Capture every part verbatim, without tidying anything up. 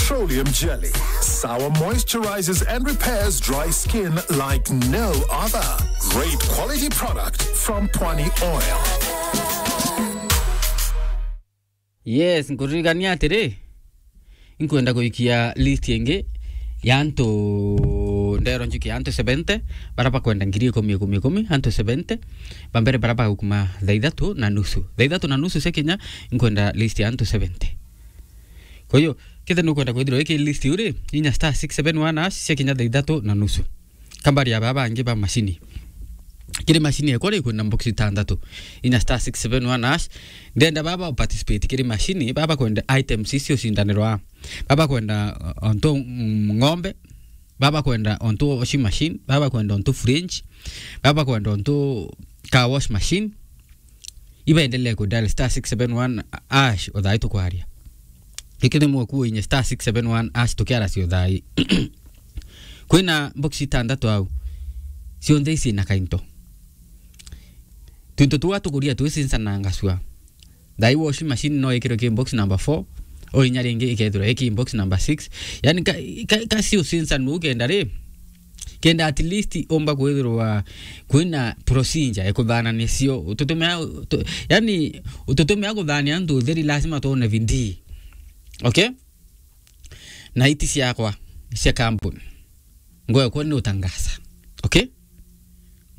Petroleum jelly. Sour, moisturizes and repairs dry skin like no other. Great quality product from Pwani Oil. Yes, nkuririkania atiri, inkwenda guikia list ingi ya antu, ndero njuke ya antu seventy, bara bakwenda ngiri ikumi, ikumi, ikumi, antu seventy, ba mbere bara bagukuma thaa ithatu na nusu. Thaa ithatu na nusu cia kinya, inkwenda list ya antu seventy. Kwa hiyo, kethe nukwenda kwithirwa iki list iu ri, inya star six seven one hash cia kinya thaa ithatu na nusu. Kambari ya baba bangi ba mashini. Kiri mashini ekwa ri, kwina box itandatu. Inya star six seven one hash. Ndenda baba participate kiri mashini, baba kwenda items icio cindanirwa. Baba kwenda, uh, ontu, mm, ng'ombe, baba kwenda ontu washing machine, baba kwenda ontu fridge, baba kwenda ontu car wash machine. Ibaendelee ku dial star six seven one hash o thaa ii tukwaria. Giki ni mwaku inye star six seven one hash tukiara cio thaa ii. Kwina box itandatu au. Cionthe ici na kainto. Twinto tuwa tukuria twicincanangasua. Thaa ii washing machine no ikirwe ki box number four, o inya ringi ikethirwa iki box number six. Yani ka, ka, ka cio cincanua ukenda ri, kenda at least umba kwithirwa kwina procedure ya kuthanania cio. Ututumia, utu-, yani, ututumia kuthania antu utheri lazima tuone bidii. Okay? Na iti ciakwa, cia kampuni. Ngwekwa ni utangaza. Okay?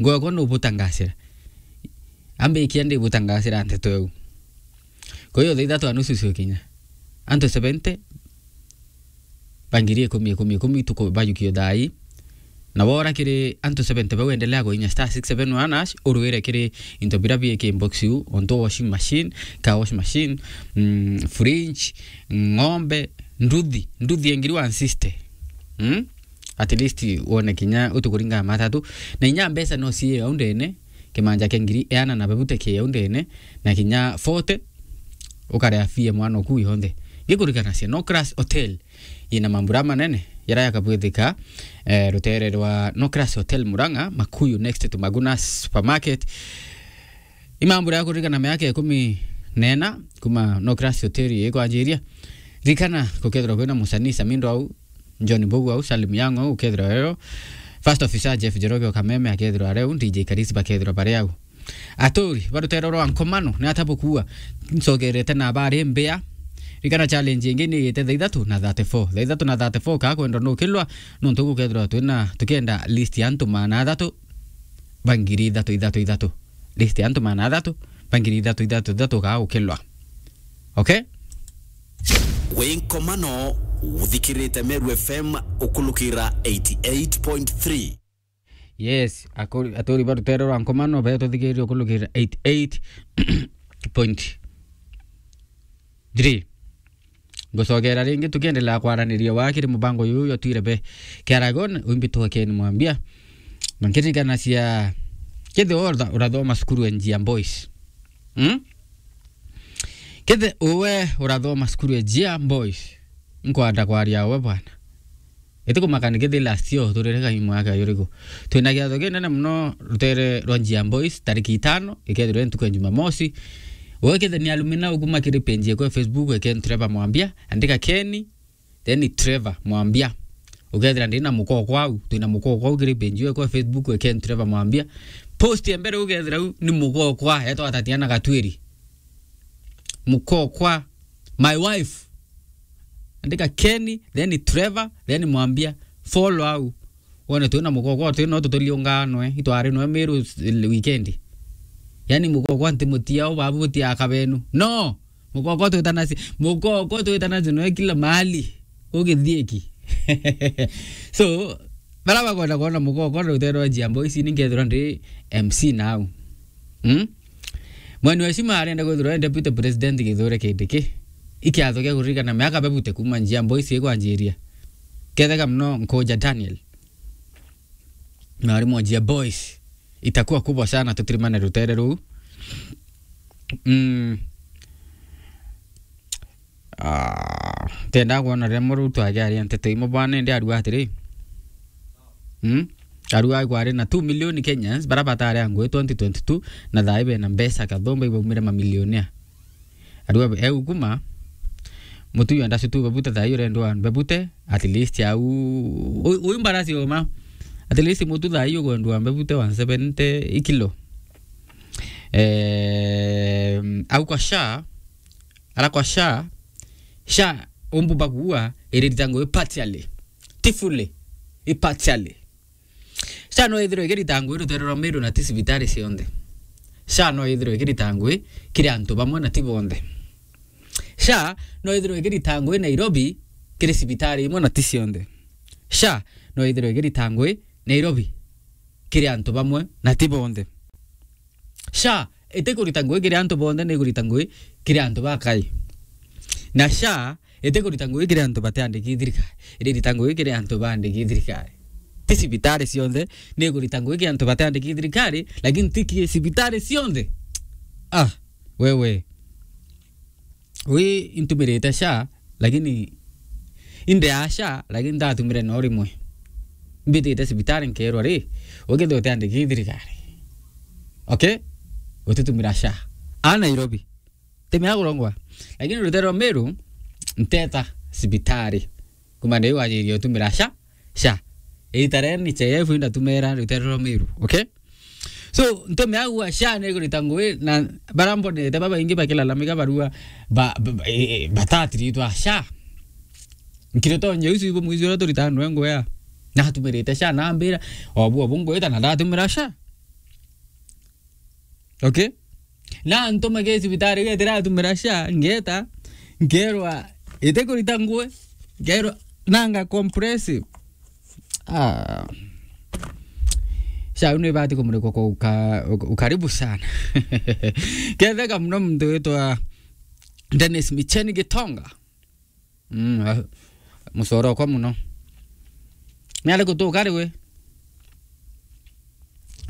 Ngwekwa ni ubutangasira. Ambikia ndi butangasira nteto eu. Kwa hiyo thaa ithatu na nusu cio kinya. Antu seventy, ba ngiri ikumi, ikumi, ikumi tuku-, bayukio thaa ii. Na wora kiri antu seventy bau, endelea kuinya star six seven one hash, urwire kiri into bira bi iki box iu, ontu washing machine, car wash machine, mm, fridge, ng'ombe, nduthi, nduthi ya ngiri one sixty. Mm? At least wone kinya utukuringa matatu. Na inya mbeca no cie au ndene, kimanja kia ngiri iana na bebute ki au ndene, na kinya forty, ukarea fee mwana oku yonthe. Ngikurikanacia, No Crash Hotel yina mambura manene, yara yakabwithika, eh, rutere rwa No Crash Hotel Murang'a, Makuyu, next to Maguna Supermarket. Imambura ya kuririkana miaka ikumi na ina kuma No Crash Hotel ikwanjiria. Ririkana, gukethirwa kwina musanii Samindo au, John Mbugu au, Salim Young au, ukethirwa rero. First Officer Jeff Njoroge o Kameme akethirwa areu, D J Karisi bakethirwa bari au. Aturi ba rutere rwa Nkomano, ni ata bukua? Ncokerete na bari mbia. Ririkana challenge ingi ni yite thaa ithatu na thirty-four. Thaa ithatu na thirty-four ka kwenda nukilwa, nontu gukethirwa twina, tukienda list ya antu maana athatu ba ngiri ithatu, ithatu, ithatu. List ya antu maana athatu ba ngiri ithatu, ithatu, ithatu ka gukilwa. Okay? Wi Nkomano, uthikirite Meru F M ukulukira eighty-eight point three. Yes, akuri-, aturi ba rutere rwa Nkomano, be tuthikiririe ukulukira eighty-eight point three. Ngucokera ringi tukiendelea kwaraniria wa kiri mubango uyu jwa Twire Be Kiaragon, uimbitwe Ken Mwambia. Na nkiririkanacia, kethe we uratha-, urathoma cukuru ya Njia Boys. Hmm? Kethe we urathoma cukuru ya Njia Boys, nkwenda kwaria we bwana. Itikumaka ni kethi last year turire kaimo yake yuriku. Twina giatho kinene muno rutere rwa Njia Boys, tariki itano, ikethirwa ntuku ya Jumamosi. Wewe kethe ni alumina ukuma kiri page yekwa ya Facebook, eke Trevor Mwambia, andika Kenny, then Trevor Mwambia. Ukethira ndina mukokwa au, twina mukokwa au kiri page yekwa ya Facebook, eke Trevor Mwambia. Post ya mbere ukethira u ni mukokwa, etwa Tatiana Gatwiri. Mukokwa, my wife. Andika Kenny, then Trevor, then Mwambia. Follow au. Wone twina mukokwa, twina tuturiunganwe, itwari nwe Meru s-, weekend. Yani mukokwa ntimutia au, babu butia kabenu. No! Mukokwa twitanaci, mukokwa twitanaci nwe kila mahali. Ugithieki. So, bara bakwenda kwona mukokwa rutere rwa Njia Boys, ni nkethirwa ndi M C nau. Hmm? Mweni wa Shima arenda kwithirwa e Deputy President Kithure Kindiki. Ikiatho kia kuririkana miaka bebute kuma Njia Boys ikwanjiria. Ketheka muno Nkuja Daniel. Mwarimu wa Njia Boys. Itakuwa kubwa sana tutirimane rutere ruu. Mm. Ah, tenda kwona riria muru twagiaria nteto imwe bwana, ndi arua atiri. Hmm? Arua kwari na two million Kenyans bara batari a ngui twenty twenty-two, na thaa ibe na mbeca kathumba ibaumire mamilionea. Arua eu kuma Mutu yu enda sutu bebute thaa ii urendwa bebute, at least au. U-, uyu mbarasi uma. At least mutu thaa ii ugwendwa bebute one seventy ikilo. Eh, au kwa SHA, ara kwa SHA, SHA umbu bagua iririta ngui partially. Ti fully, i partially. SHA no ithirwe ikirita ngui rutere rwa Meru na ti cibitari cionthe. SHA no ithirwe ikirita ngui kiri antu bamwe na ti bonthe. SHA no ithirwe ikirita ngui Nairobi kiri cibitari imwe na ti cionthe. SHA no ithirwe ikirita ngui Nairobi kiri antu bamwe na ti bonthe. SHA itikurita ngui kiri antu bonthe, ni ikurita ngui kiri antu bakai. Na SHA itikurita ngui kiri antu batiandiki thirikari, iririta ngui kiri antu baandiki thirikari. Ti cibitari cionthe, ni ikurita ngui kiri antu batiandiki thirikari, lakini ti ki cibitari cionthe. Ah, wewe. Wi intumirite SHA, lakini inde ya SHA, lakini ndatumire no rimwe. Mbitite cibitari nkerwa ri, ukethirwa utiandiki thirikari. Okay? Utitumira SHA. A Nairobi. Timea kurongwa. Lakini rutere rwa Meru, nteta cibitari. Kuma ndi wajirie utumira SHA, SHA. Ita ria N H I F indatumira rutere rwa Meru. Okay? So, ntume agua SHA ni ikurita ngui na bara mbonete babaingi bakilalamika barua ba, ba, ba, e, e, batatiritwa SHA. Nkire tonye ucio ibo mwizi uria turitaga nwe ngui ya. Natumirite SHA nambira, obu, obu ngwita na ndatumira SHA. Okay? Na ntuma ke cibitari getira atumira SHA, ngeta, nkerwa, itikurita ngui, nkerwa, nanga compressive. Ah. SHA ni ibati kumurikwa kwa uka-, uka-, ukaribu sana. Ketheka muno muntu witwa Dennis Micheni Gitonga. Mm, ah, mucoro okwa muno. Ni ari gutuka ri we?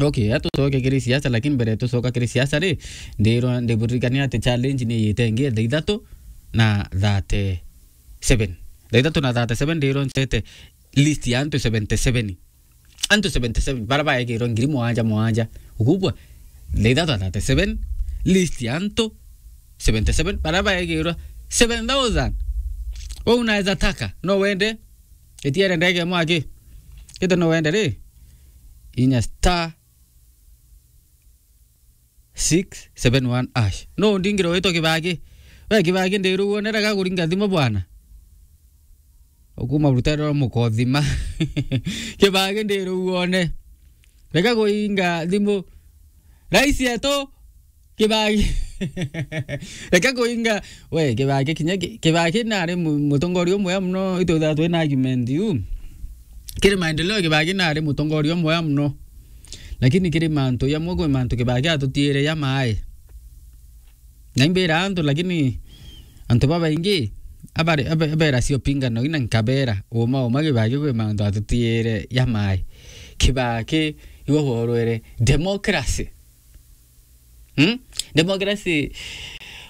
Okay, atucoke kiri siasa, lakini mbere tucoka kiri siasa ri, ndirwa ndiburirikania ati challenge ni yite ingi thaa ithatu na thirty-seven. Thaa ithatu na thirty-seven ndirwa ncete list ya antu seventy-seven. Antu seventy-seven bara baegirwe ngiri mwanja mwanja. Ukubwa, thaa ithatu na thirty-seven, list ya antu seventy-seven bara baegirwe seven thousand. Wewe unaweza taka, no wende, itiere ndege mwaki. Kete no wende ri, inya star six seven one hash. No ndingiro witwa Kibaki. We Kibaki ndiru wone, rega kuringa thimu bwana. Ukuma rutere rwa mukothima. Kibaki ndiru wone. Rega kuinga thimu. Raisi yetu, Kibaki. Rega kuinga. We, Kibaki kinya ki-, Kibaki nari mu-, mutongoria umwe muno, itwithaga twina argument yu. Kiri maendeleo, Kibaki nari mutongoria umwe muno. Lakini kiri mantu jamwe, kwi mantu Kibaki atutiire ja mai. Na imbira antu, lakini antu babaingi abari-, abe-, abera cio pingano ina nkabera, uma, uma Kibaki kwi mantu atutiire ja mai. Kibaki iwe worwere democracy. Hmm? Democracy,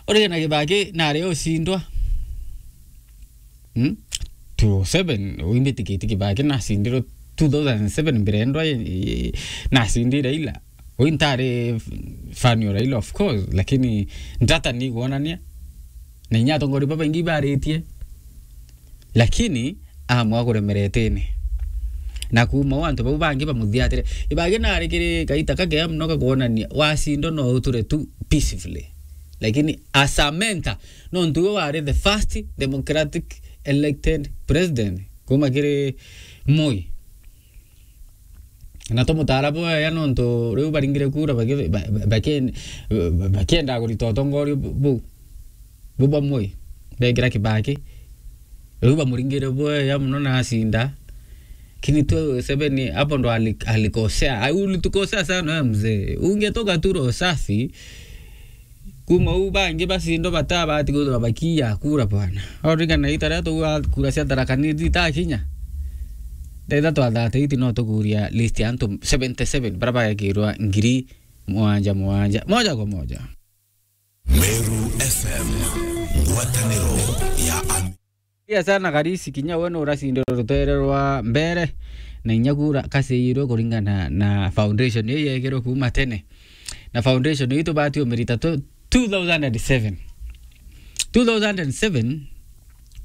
urigena Kibaki nari ucindwa. Hmm? Two oh seven, uimbitikitie Kibaki nacindirwe two thousand seven mbere ndwa, eh, nacindi Raila. Ui ntari fan wa Raila, of course, lakini ndata ni gwonania. Na inya atongoria babaingi baritie. Lakini amwe akuremeretene. Na kuma o antu bau bangi bamuthiatire. Kibaki nari kiri kaita kakea muno ga kwonania wacindo no uture tu peacefully. Lakini as a mentor, nontu we wari the first democratic elected president kuma kiri Moi. Na tumutara bwega nontu riu baringire kura baki-, ba-, ba-, bakien-, ba-, bakienda kurita utongoria bu-, bu-, bu bamwe. Bekira Kibaki. Riu bamuringire bwega muno na acinda. Lakini tu Seven hapo ndo ali-, alikosea. Ai, ulitukosea sana wewe mzee. Ungetoka tu roho safi. Kuma u bangi bacindo batabati kwithirwa bakiya kura bwana. Origana ita ria tuga kura cia Tharaka Nithi itakinya. Thaa ithatu thaa thirty-eight no tukuria list ya antu seventy-seven bara bagekirwa ngiri mwanja mwanja. Moja kwa moja. Meru F M, ngwataniro ya Am- Ria sana Karisi, kinya we nuracindire rutere rwa mbere, na inya kura kaciirwe kuringana na foundation iu yekirwe kuma tene. Na foundation iu tubati umirita tu-, two thousand and seven. Two thousand and seven,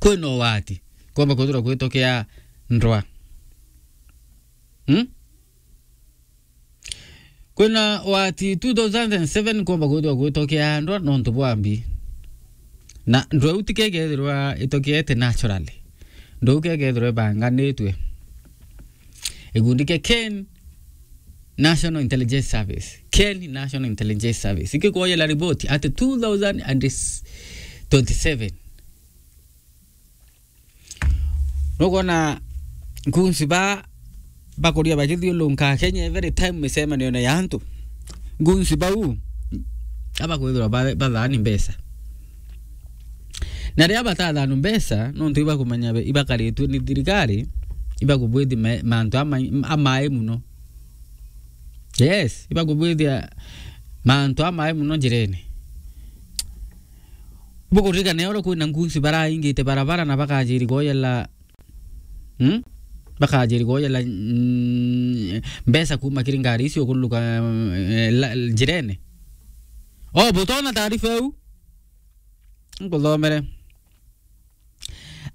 Kwina ugwati kwomba kwithirwa gwitokea ndwa. Hmm? Kwina ugwati two thousand and seven kwomba kwithirwa gwitokea ndwa nontu bwa mbi. Na ndwa iu tikegethirwa itokete naturally. Ndwa iu kegethirwa ibanganitwe. Gikundi kia Ken National Intelligence Service. Ken National Intelligence Service. Ikikwoyela riboti ati two thousand and twenty-seven. Nukwona nkunsi ba bakuria bakithiulunka Kenya every time micemanio ya antu. Nkunsi bau abakwithirwa ba- bathaani mbeca. Na riria batathaanu mbeca, nontu ibakumenya be- ibakaritue ni thirikari, ibakubwithi me- mantu ama- amai muno. Yes, ibakubwithia mantu amai muno njirene. Bukuririkana oro kwina nkunsi baraingite barabara na bakajiri kwoyela, hmm? Bakajiri kwoyela, mm, mbeca kuma kiri ngari icio kuluka, eh, la- njirene. O, butona taarifa iu? Nkuthomere.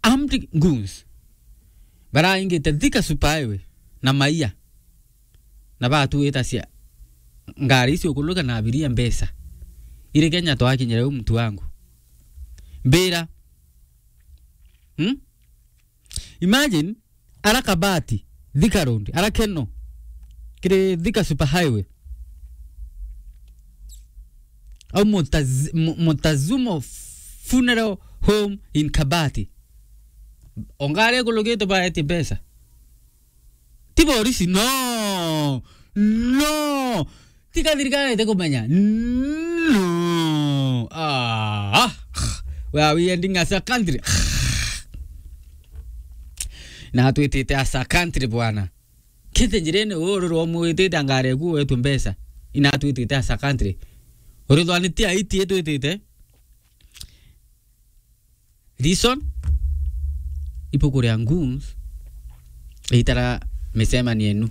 Armed goons baraingite Thika Super Highway na maia na batuitacia ngari icio kuluka na abiria mbeca. Iri Kenya twakinyire u mtu wangu. Mbira. Hmm? Imagine, ara Kabati, Thika Road, ara Keno, kiri Thika Super Highway. Au Montaz- Mo- Montazumo Funeral Home in Kabati. O ngari ikulukite baetie mbeca. Ti borisi, no. No. Tika thirikari ite kumenya. No. Ah. Where are we ending as a country? Na twitite as a country, bwana. Kite njirene uru rwa mwitite ngari eku wetwe mbeca. Ina twitite as a country. Uri thwani ti aiti twitite. Reason? Ibuku ria goons itara micemanio enu.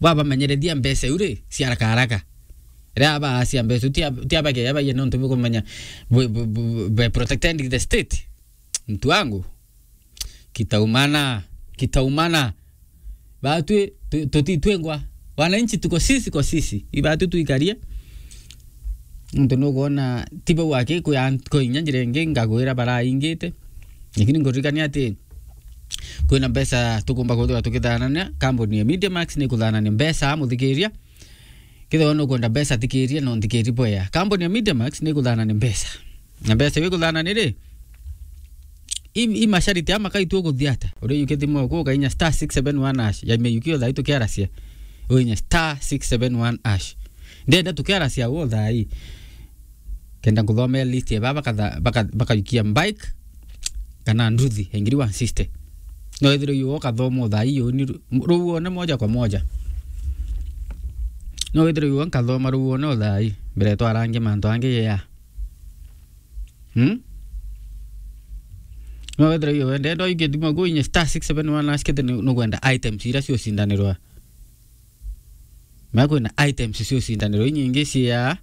Bwabamenyerethia mbeca iu ri, cia haraka haraka. Riria baacia mbeca iu, tia- tiabageja baie nontu bukumenya bu- bu- bu- by protecting the state. Mtu wangu. Kitaumana, kitaumana. Batwi tu- tutitwengwa. Wananchi tuko sisi kwa sisi. Ibatu tuikarie. Nontu nukwona ti bau aki kwi an- kwi inya njira ingi ngagwira baraingite. Lakini nguririkania ati kwina mbeca tukumba kwithirwa tukithanania. Kambuni ya Media Max ni kuthanania mbeca, muthikiria. Kethirwa nukwenda mbeca, thikiria na unthikiri bwea. Kambuni ya Media Max ni ikuthanania mbeca. Na mbeca iu ikuthanania ri, i, i mashariti ama kaitu ukuthia ata? Uri yuki thimu yaku ukainya star six seven one hash. Ya me yuki o thaa ii tukiaracia. Uinya star six seven one hash. Ndenda tukiaracia o thaa ii. Kenda nkuthomea list ya baba bakatha- baka- bakayukia bike kana nduthi ya ngiri one sixty. No withirwe yu ukathoma o thaa ii uni ru- ruuone moja kwa moja. No withirwe yu nkathoma ruuone o thaa ii mbere twarangia mantu angi ya. Hmm? No withirwe yu wende ndo ikithima ku inye star six seven one hash kete ni- nukwenda items iria ciocindanirwa. Mea kwina items ciocindanirwa inyingi cia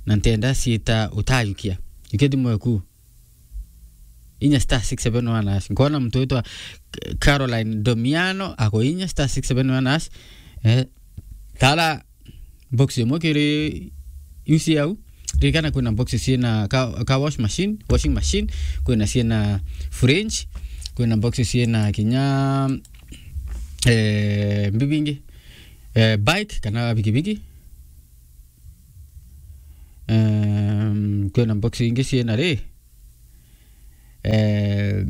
na ntenda ciita utayukia. Ikithimo eku. Inya star six seven one hash. Nkona mtu witwa Caroline Domiano ako inya star six seven one hash. Eh, tara box imwe kiri iu cia au. Ririkana kwina box ciina ka, ka wash machine, washing machine, kwina ciina fridge, kwina box ciina kinya, eh, mbibingi, eh, bike kana bikibiki. Ehm, kwina box ingi ciina ri, eh,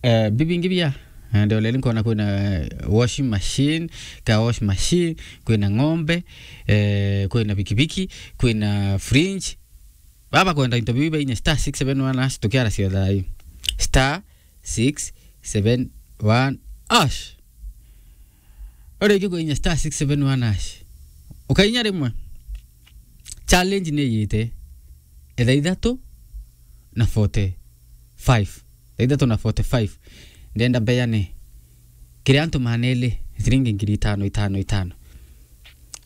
eh, bibingi bia. Eh, ndolele nkona kwina, eh, washing machine, ka wash machine, kwina ng'ombe, eh, kwina bikibiki, kwina fridge. Baba kwenda into biu bainya star six seven one hash tukiaracia thaa ii. Star six seven one hash. Uri iki kuinya star six seven one hash. Ukainya rimwe. Challenge ni yite. Etha ithatu na forty-five. Etha ithatu na forty-five. Ndenda mbeane kiri antu maneli ciringi ngiri itano, itano, itano.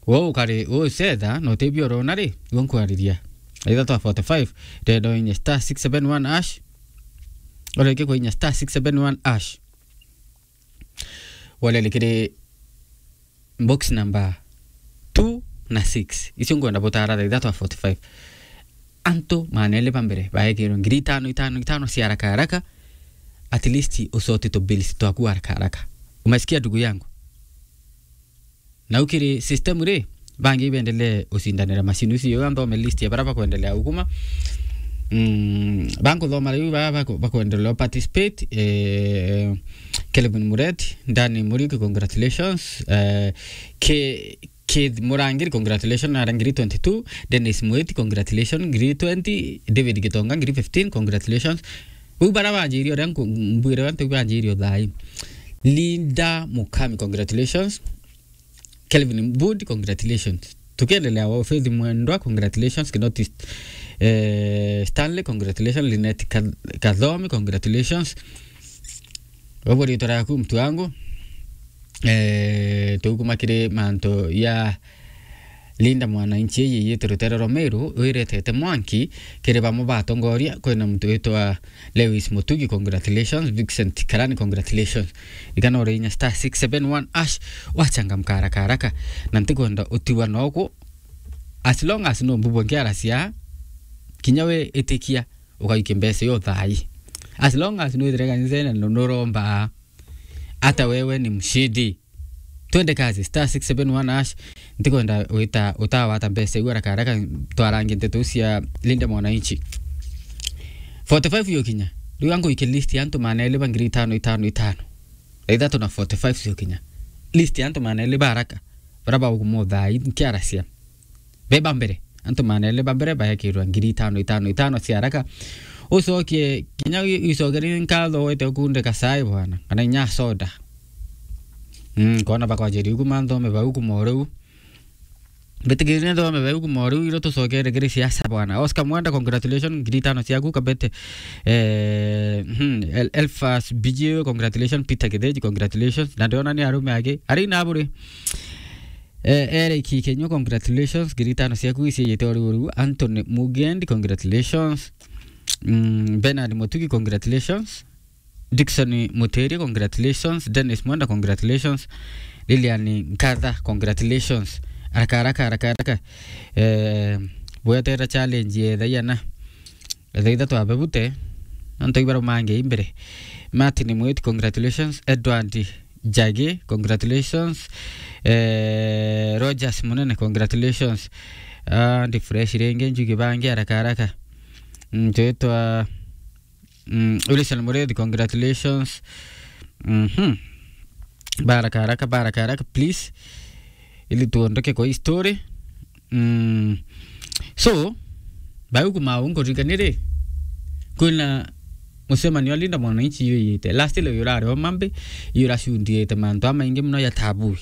Wo ukari, wo ucetha, na utibio urona ri, wo nkwariria. Etha twa forty-five, ndenda uinye star six seven one hash. Ureke kuinya star six seven one hash. Walele kiri box number two na six. Icio ngwenda butara thaa ithatu forty-five. Antu maana eli ba mbere baekirwe ngiri itano, itano, itano cia haraka haraka. At least usote tu bills twaku haraka haraka. Umesikia, ndugu yangu? Na ukiri system ri, bangi ibendelee ucindanira macini icio, yo nthome list ya bara bakwendelea ukuma. Mm, bankuthoma riu ba, ba, bakwendelea participate, eh, Kelvin Mureti, Dani Muriuki, congratulations. Eh, Ke-, Keith Murangiri, congratulations, ara ngiri twenty-two. Dennis Mwiti, congratulations, ngiri twenty. David Gitonga, ngiri fifteen, congratulations. Uu bara banjirie uria nku-, mbwire antu banjirie uthai. Linda Mukami, congratulations. Kelvin Mbudi, congratulations. Tukiendelea wa Faith Mwendwa, congratulations. Kinoti, eh, Stanley, congratulations. Linet Ka-, Kathomi, congratulations. Ubu ritwa riaku mtu wangu. Eh, tukuma kiri mantu ya Linda Mwananchi, iyi yitwa rutere rwa Meru, wiretete mwanki kiri bamwe batongoria. Kwina muntu witwa Lewis Mutugi, congratulations. Vincent Karani, congratulations. Ikana urinya star six seven one hash, wachangamka haraka haraka. Na ntikwenda utiwa noku. As long as no mbubwe nkiaracia, kinya we itikia, ukaikia mbeca iyo thai. As long as no ithire kanisene no nuromba, hata wewe ni mshindi. Twende kazi, star six seven one hash. Ntikwenda wita, utawata mbeca iu haraka haraka, twarange nteto cia Linda Mwananchi. Forty-five yokinya. Riu angu iki list ya antu maana eli ba ngiri itano, itano, itano. Thaa ithatu na forty-five cio kinya. List ya antu maana eli ba haraka. Bara bauguma uthai, nkiaracia. Beba mbere. Antu maana eli ba mbere baekirwa ngiri itano, itano, itano cia haraka. Ucokie, kinya wi-, ucokerie nkatho wete ukunde kacai bwana. Kana inya soda. Mm, kona bakwanjiria ukuma nthome bau kuma o riu. Mbitikirie nthome bau kuma o riu, iro tucokere kiri siasa bwana. Oscar Mwenda, congratulations, ngiri itano ciaku. Kabete, eh, hmm, El-, Elfas B G, congratulations. Peter Kitheji, congratulations. Na ndiona ni arume angi. Ari na buri. Eh, Eric Kikenyo, congratulations. Ngiri itano ciaku iciiyite o riu o riu. Anthony Mugendi, congratulations. Mm, Bernard Mutugi, congratulations. Dickson Muteria, congratulations. Dennis Mwenda, congratulations. Lilian Nkatha, congratulations. Haraka, haraka, haraka, haraka. Eh, bwetera challenge ya thaa iana. Thaa ithatu abebute. Antu ibaro mange imbere. Martin Mwiti, congratulations. Edward Njagi, congratulations. Eh, Rogers Munene, congratulations. Ah, ndi fresh ringi, njuge bangi haraka, haraka. Mm, twitwa Mm, Wilson Murithi, congratulations. Mhm. Baraka haraka, baraka haraka, please. Ili tuondoke kwa hii story. Mm. So, bau kuma au nkuririkania ri, kwina mucemanio wa Linda Mwananchi yuyite. Last leo yurari o mambi, yuracundiite mantu amaingi muno ya tabu.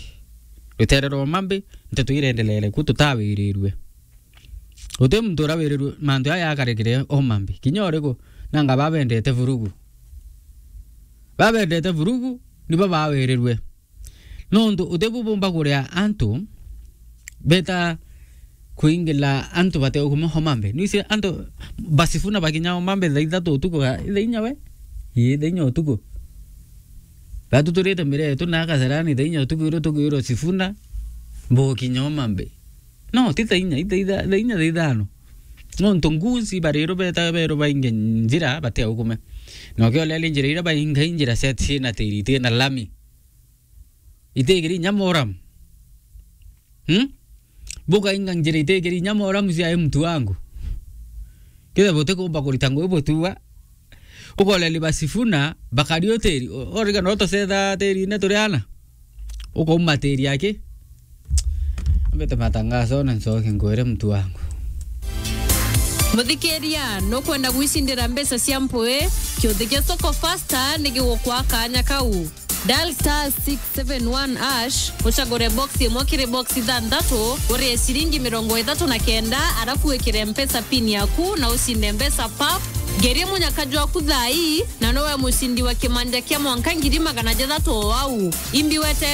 Rutere rwa mambi, nteto irendelere ku tutawirirwe. Guti muntu urawirirwe mantu jaya jakarekire o mambi. Kinya uriku, nanga babendete vurugu. Babendete vurugu, nibo bawirirwe. Nontu uti bu bumba kuria antu beta kuingila antu bate kuma Homa Bay. Nwisi antu ba Sifuna bakinya Homa Bay thaa ithatu utuku, ga-, thaa inya we? Ii, thaa inya utuku. Batuturite miria yetu na Kasarani thaa inya utuku, irio tukwirwo Sifuna, bukinya Homa Bay. No, ti thaa inya, i thaa itha-, thaa inya, thaa ithano. Nontu ngunsi barirwo beta berwo bainge njira bate ukume. Na ukioleria njira iria bainga i njira cia, ciina tiri, itina lami. Itigiri inya moramu. Hmm? Bukainga njira itigiri inya moramu cia mtu wangu. Kitha butikumba kurita ngugi butua. Ukoleria ba Sifuna, bakari o tiri. O-, origana utucetha tirine turi ana. Ukauma tiri aki. Ambite matangazo na ncoke nkwire mtu wangu. Muthikiria, nukwenda gwicindira mbeca cia mpui? Kiuthi gia Soko Fasta ni gigukwa kanya kau. Dial star six seven one hash, ucagure box imwe kiri box ithanthatu, urie ciringi mirongo ithatu na kenda, arafu wikire Mpesa pin yaku na ucinde mbeca pap. Ngerie munyaka jwaku thaa ii, na nowe mucindi wa kimanja kia mwanka ngiri magana jathatu o au. Imbi wete